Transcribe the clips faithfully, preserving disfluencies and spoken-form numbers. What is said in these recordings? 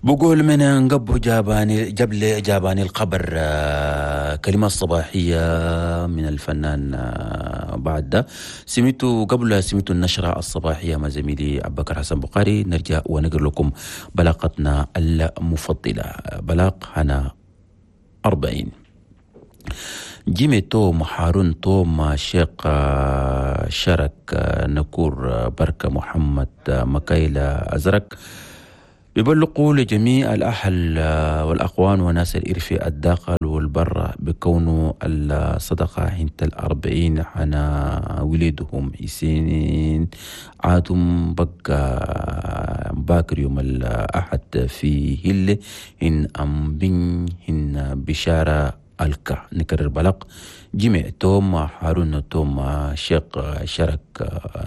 بقول من انقبو جاباني جبل جاباني الخبر. كلمات صباحية من الفنان بعد ده سميتو قبل سميتو النشرة الصباحية مع زميلي أبو بكر حسن بخاري. نرجع ونقر لكم بلاقتنا المفضلة بلاق هنا أربعين. جيمي توم هارون توم شيخ شرك نكور بركة محمد مكايلة أزرق بيبلغوا لجميع الأهل والأخوان وناس الإرفي الداخل والبر بكونه الصدقة حنت الأربعين حنا ولدهم حسين عادم بقى باكر يوم الأحد في هل إن أم بن إن بشارة الكا. نكرر بلق جمع توم هارون توم شيخ شرك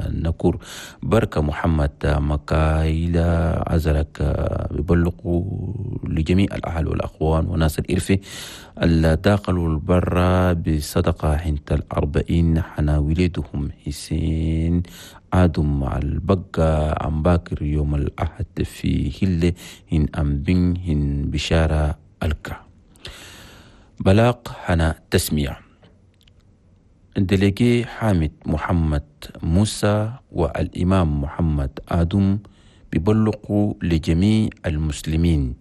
نكور بركة محمد مكايلة أزرك بيبلغوا لجميع الأهل والأخوان وناس الإرفي الداخل والبر بصدقة حنت الأربعين حنا ولدهم حسين آدم مع البقى عم باكر يوم الأحد في هلة إن أم بن إن بشارة الكا. بلاق حنا تسمية الدليجي حامد محمد موسى والإمام محمد آدم بيبلغوا لجميع المسلمين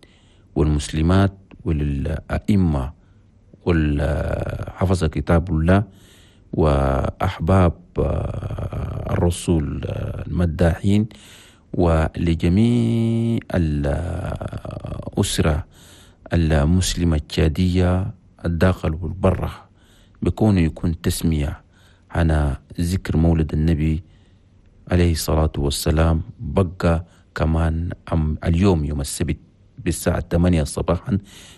والمسلمات وللأئمة والحفظ كتاب الله وأحباب الرسول المداحين ولجميع الأسرة المسلمة التشادية الداخل والبرة بكونه يكون تسمية على ذكر مولد النبي عليه الصلاة والسلام بقى كمان اليوم يوم السبت بالساعة ثمانية صباحا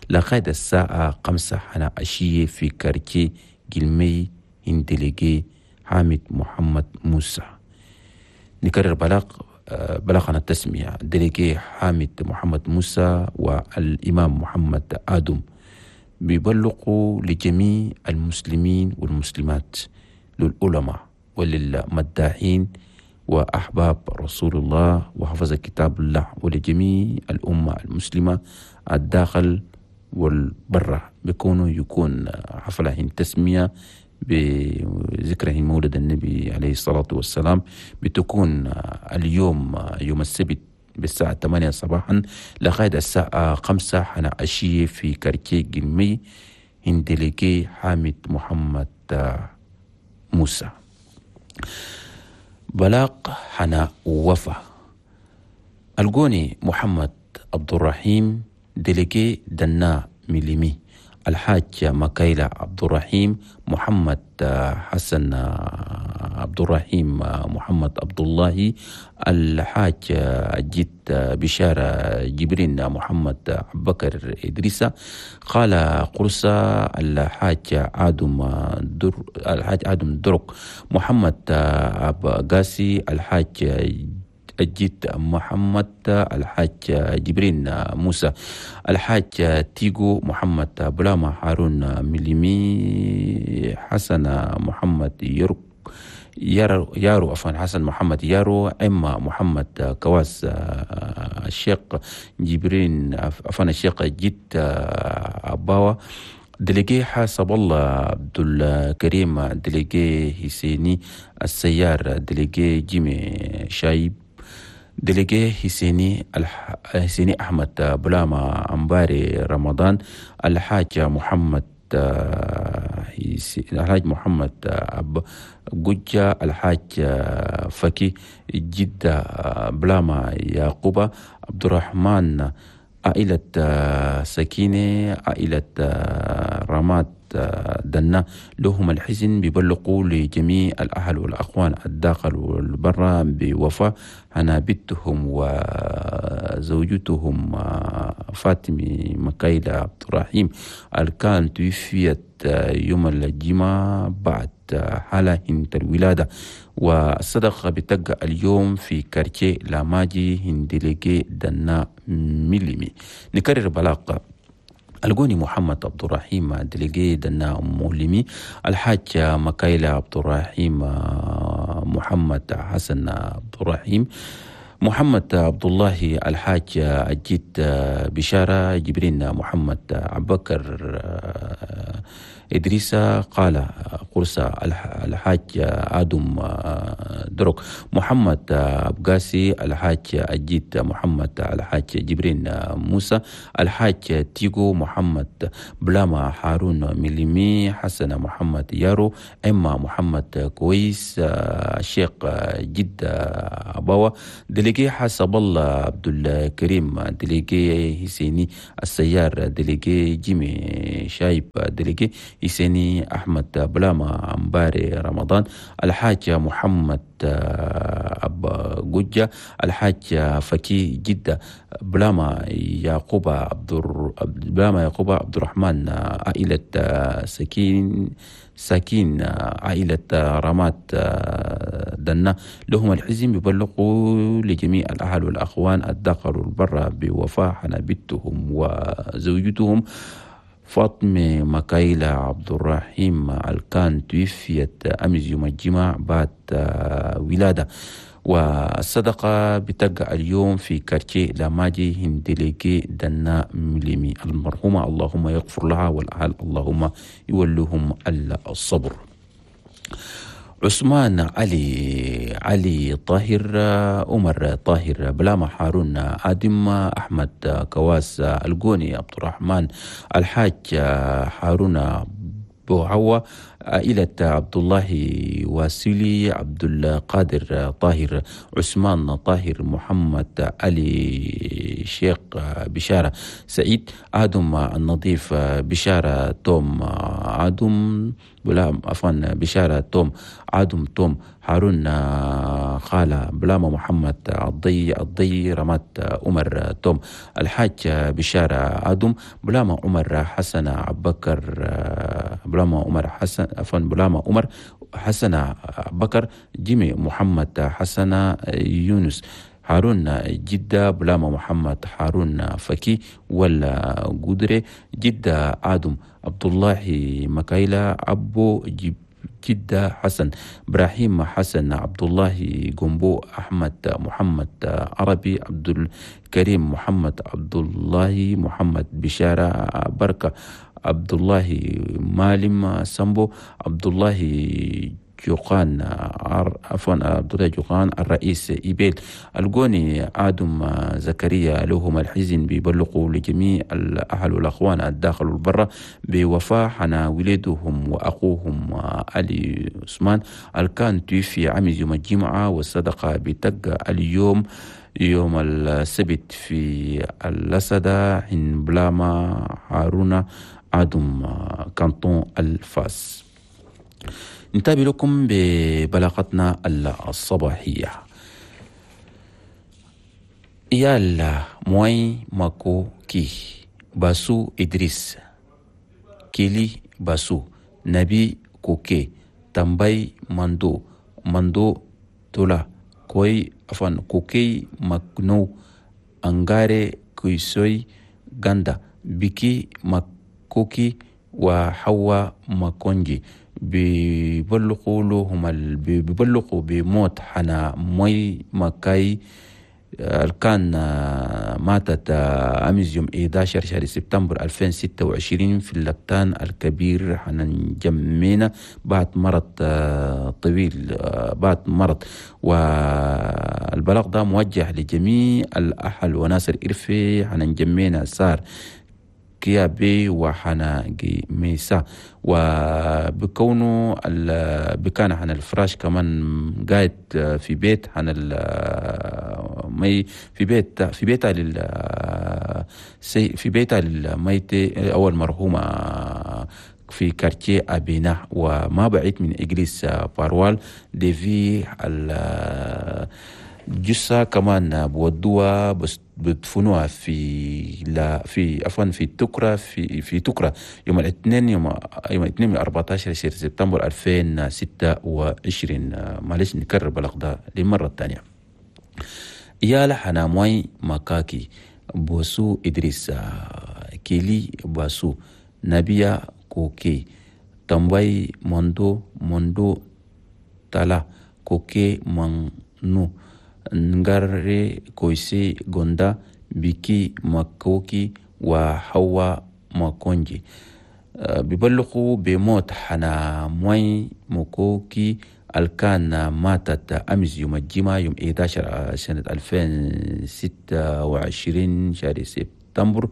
لغاية الساعة خمسة حنا عشية في كارتي جلمي هندليجي حامد محمد موسى. نكرر بلاغ بلغنا التسمية دليجي حامد محمد موسى والإمام محمد آدم بيبلغوا لجميع المسلمين والمسلمات للعلماء وللمداحين وأحباب رسول الله وحفظ كتاب الله ولجميع الأمة المسلمة الداخل والبرة بيكونوا يكون حفلة تسمية بذكره مولد النبي عليه الصلاة والسلام بتكون اليوم يوم السبت بالساعة ثمانية صباحا لغاية الساعة خمسة حنا عشية في كارتيه جلمي هندليكي حامد محمد موسى. بلاق حنا وفا الجوني محمد عبد الرحيم دليكي دنا مليمي الحاج مكايلة عبد الرحيم محمد حسن عبد الرحيم محمد عبد الله الحاج جيت بشارة جبرين محمد بكر إدريسة قال قرصة الحاج آدم در الحاج آدم درك محمد أب قاسي الحاج الجد محمد الحاج جبرين موسى الحاج تيغو محمد بلاما هارون مليمي حسن محمد يرك يارو يارو عفوا حسن محمد يارو اما محمد كواس الشيخ جبرين عفوا الشيخ جد أباوا دليجي حسب الله عبد الكريم دليجي حسيني السيار دليجي جيمي شايب دليجي حسيني الح... حسيني أحمد بلاما أمباري رمضان الحاج محمد الحاج محمد أب جوجا الحاج فكي جدة بلاما يعقوبة عبد الرحمن عائلة سكينة عائلة رماد دنا لهم الحزن بيبلغوا لجميع الأهل والأخوان الداخل والبرة بوفاة أنا بنتهم وزوجتهم فاطمة مكايلة عبد الرحيم الكان توفيت يوم الجمعة بعد حالة الولادة والصدقة بتقع اليوم في كارتيه لاماجي هندليجي دنا مليمي. نكرر بلاقة الجوني محمد عبد الرحيم دليجي دنا مولمي الحاج مكايلة عبد الرحيم محمد حسن عبد الرحيم محمد عبد الله الحاج الجيت بشارة جبرين محمد عبكر إدريس قال قرصة الحاج آدم دروك محمد أبقاسي الحاج الجيت محمد الحاج جبرين موسى الحاج تيغو محمد بلاما هارون مليمي حسن محمد يارو إما محمد كويس الشيخ جد أباوة délégué حسب الله عبد الكريم délégué حسيني السيار délégué جيمي شايب délégué حسيني أحمد بلاما أمباري رمضان الحاج محمد أب جوجة الحاج فكي جدة بلاما يعقوب عبد بلاما يعقوب عبد الرحمن عائلة سكين ساكين عائلة رمات دنا لهم الحزن بيبلغوا لجميع الأهل والأخوان الداخل والبر بوفاة حنابتهم وزوجتهم فاطمة مكايلة عبد الرحيم الكان توفيت أمس يوم الجمعة بعد ولادة. والصدقة بتقع اليوم في كارتيه لاماجي هندليكي دنا مليمي المرحومة اللهم يغفر لها والأهل اللهم يولوهم الصبر. عثمان علي علي طاهر عمر طاهر بلاما هارون آدم أحمد كواس الجوني عبد الرحمن الحاج هارون بوعوة عائلة عبد الله واسيلي عبد القادر طاهر عثمان طاهر محمد علي شيخ بشارة سعيد آدم النظيف بشارة توم آدم بلا عفوا بشارة توم آدم توم هارون خالة بلاما محمد الضي الضي رمات عمر توم الحاج بشارة آدم بلاما عمر حسن عبكر بلاما عمر حسن عفوا بلاما عمر حسن بكر جيمي محمد حسن يونس هارون جدة بلاما محمد هارون فكي ولا قدري جدة آدم عبد الله مكايلة أبو جب جدة حسن إبراهيم حسن عبد الله جنبو أحمد محمد عربي عبد الكريم محمد عبد الله محمد بشارة بركة عبد الله مالم سامبو عبد الله جوقان عفوا عبد الله جوقان الرئيس إيبيل الجوني آدم زكريا لهم الحزن بيبلغوا لجميع الأهل والأخوان الداخل والبرة بوفاة حنا ولدهم وأخوهم علي عثمان الكان توفي عام يوم الجمعة والصدقة بتقى اليوم يوم السبت في اللسدة حين بلاما هارون آدم كانتون الفاس. نتابع لكم ببلاغتنا الصباحية. يالا موي ماكو كي باسو إدريس كيلي باسو نبي كوكي تامباي ماندو ماندو تولا كوي عفوا كوكي ماكنو أنغاري كويسوي غاندا بيكي ماكوكي وحوا ماكونجي بيبلغوا لهم بيبلغوا بموت حنا موي ماكاي كان ماتت أمس يوم أحد عشر شهر سبتمبر ألفين وستة وعشرين في اللبتان الكبير حنان جمينة بعد مرض طويل بعد مرض. والبلاغ ده موجه لجميع الأهل وناس الإرفي حنان جمينة صار كيابي وحنا ميسا وبكونه بكان حنا الفراش كمان قاعد في بيت حنا مي في بيت في بيتها لل في بيتها للميت أو المرحومة في كارتيه أبينا وما بعيد من إجليس باروال دي في الجثة كمان بودوها بس بدفنوها في لا في عفوا في تكرة في في تكرة يوم الاثنين يوم يوم الاثنين من أربعة عشر سبتمبر ألفين وستة وعشرين. معلش نكرر بلغ ده للمرة الثانية. يا لحنا موي مكاكي بوسو إدريس كيلي باسو نبيا كوكي تامباي موندو موندو تالا كوكي مانو نغاري كويسي غوندا بيكي مكوكي وحوا ماكونجي. بيبلغوا بموت حنا موي مكوكي الكان ماتت أمس يوم الجمعة يوم إحدى عشر سنة ألفين وستة وعشرين شهر سبتمبر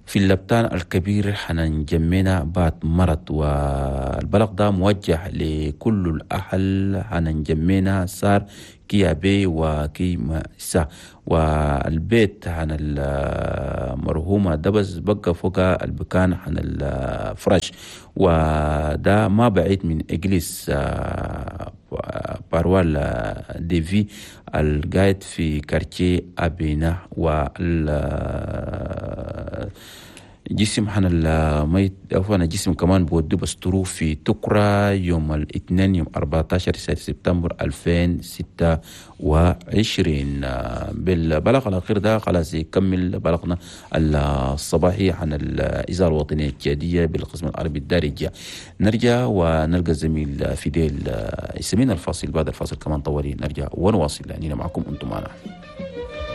في اللبتان الكبير حنان جمينا بعد مرض. والبلغ ده موجه لكل الأهل حنان جمينا صار كيابي وكي مسا. والبيت عن المرهومة ده بس بقى فوق البكان عن الفرش، وده ما بعيد من إجليس باروال ديفي القايد في كارتيه أبينا. وال جسم حنا الميت عفوا جسم كمان بودو بسترو في تكرا يوم الاثنين يوم أربعة عشر سبتمبر ألفين وستة وعشرين. بالبلغ الأخير ده خلاص يكمل بلغنا الصباحي عن الإذاعة الوطنية التشادية بالقسم العربي الدارجة. نرجع ونلقى الزميل فيديل يسمينا الفاصل، بعد الفاصل كمان طوالي نرجع ونواصل لأننا معكم أنتم معنا.